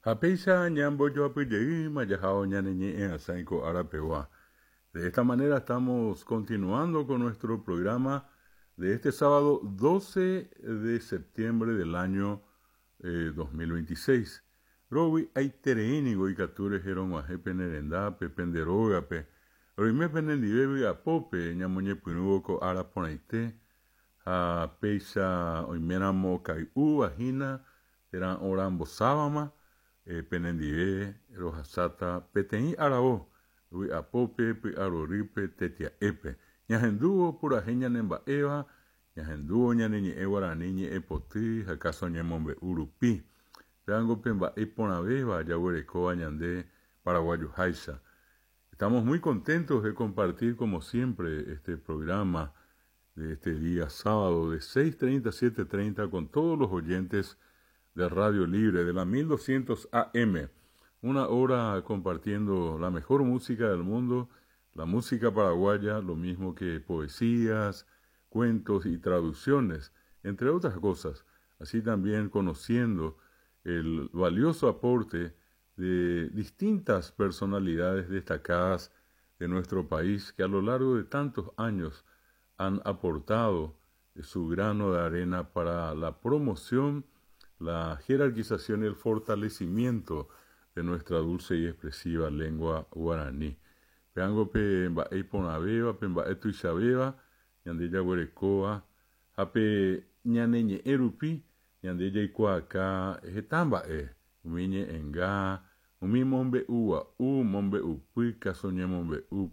Ha péicha ñambojoapyjeýma jahao ñane ñe'ẽ'asãi ko árapegua. De esta manera estamos continuando con nuestro programa de este sábado 12 de septiembre del año 2026. Rovy'aiterei ningo ikatu rehe rog̃uahẽ pene rendápe, pende rógape, roime penendive vy'apópe ñamoñepyrũvo ko ára porãite ha péicha oiméramo okay'úva hína térã orambosávama penendive rohasáta peteĩ aravo vy'apópe, py'arorýpe, tetia'épe. Ñahendúvo purahéi ñanemba'éva, ñahendúvo ñane ñe'ẽ guarani ñe'ẽpoty ha káso ñemombe'u rupi. Pévango pe mba'e iporãvéva jaguerekóva ñande paraguayoháicha. Estamos muy contentos de compartir como siempre este programa de este día sábado de 6:30 a 7:30 con todos los oyentes de Radio Libre de la 1200 AM. Una hora compartiendo la mejor música del mundo, la música paraguaya, lo mismo que poesías, cuentos y traducciones, entre otras cosas. Así también conociendo el valioso aporte de distintas personalidades destacadas de nuestro país que a lo largo de tantos años han aportado su grano de arena para la promoción, la jerarquización y el fortalecimiento de nuestra dulce y expresiva lengua guaraní. Péango pe mba'e iporãvéva, pe mba'e tuichavéva, ñande jaguerekóva, ha pe ñane ñe'ẽ rupi, ñande jaikuaaka heta mba'e, umi ñe'ẽnga, umi mombe'ugua'u, mombe'upy, káso ñemombe'u.